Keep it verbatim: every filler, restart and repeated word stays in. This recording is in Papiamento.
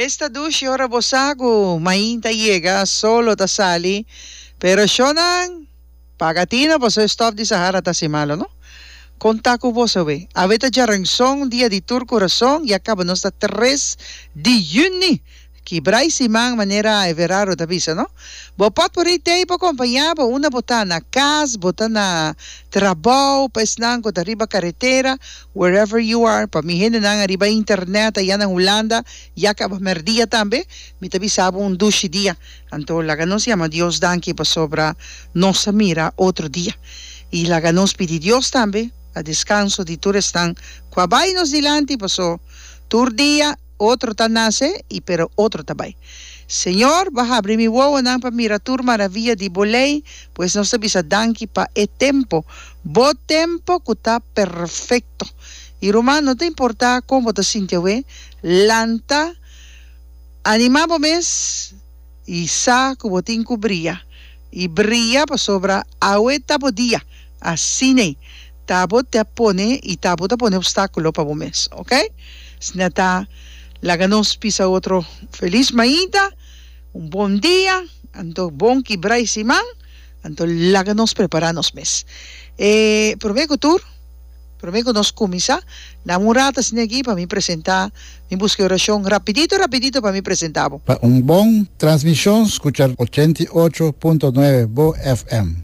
Esta dushi ora bo sa ku mainta yega, solo ta sali, pero shonnan, paga tino paso e stòf di Sahara ta hasi malo, no? Kon ta ku boso awe? Awe ta djaranson, dia di tur kurason, ya kaba nos ta tres di yüni. Kibra i siman manera Everardo ta bisa, no? Bo Potpourri t'ei pa kompañá bo unda bo ta, na kas, bo ta na trabou, pa esnan ku ta riba karetera, wherever you are, pa mi hendenan ariba internet aya na Hulanda, ya kaba mèrdia tambe, mi ta bisa bo un dushi dia. Anto laga nos yama Dios danki pasobra nos a mira otro dia. I laga nos pidi Dios tambe pa deskanso di tur esnan ku a bai nos dilanti, paso tur dia otro ta nase i pero otro ta bai. Señor, bo a habri mi wowonan pa mira tur maravia di bo lei, pues nos ta bisa danki pa e tempo, bo tempo ku ta perfekto. I ruman, no ta importá kon bo ta sinti awe, lanta, animá bo mes i sa ku bo tin ku bria. I bria pasobra awe ta bo dia. Asin'ei ta bo ta pone i ta bo ta pone obstákulo pa bo mes. Ok? Asina ta laga nos pisa otro felis mainta, un bon dia, anto bon kibra i siman, anto laga nos prepará nos mes. E promé ku tur, promé ku nos kuminsá, dame un rato asina aki pa mi presentá, mi buska e orashon rapidito rapidito pa mi presentá bo. Pa un bon transmishon skucha ochenta i ocho punto nuebe Bo F M.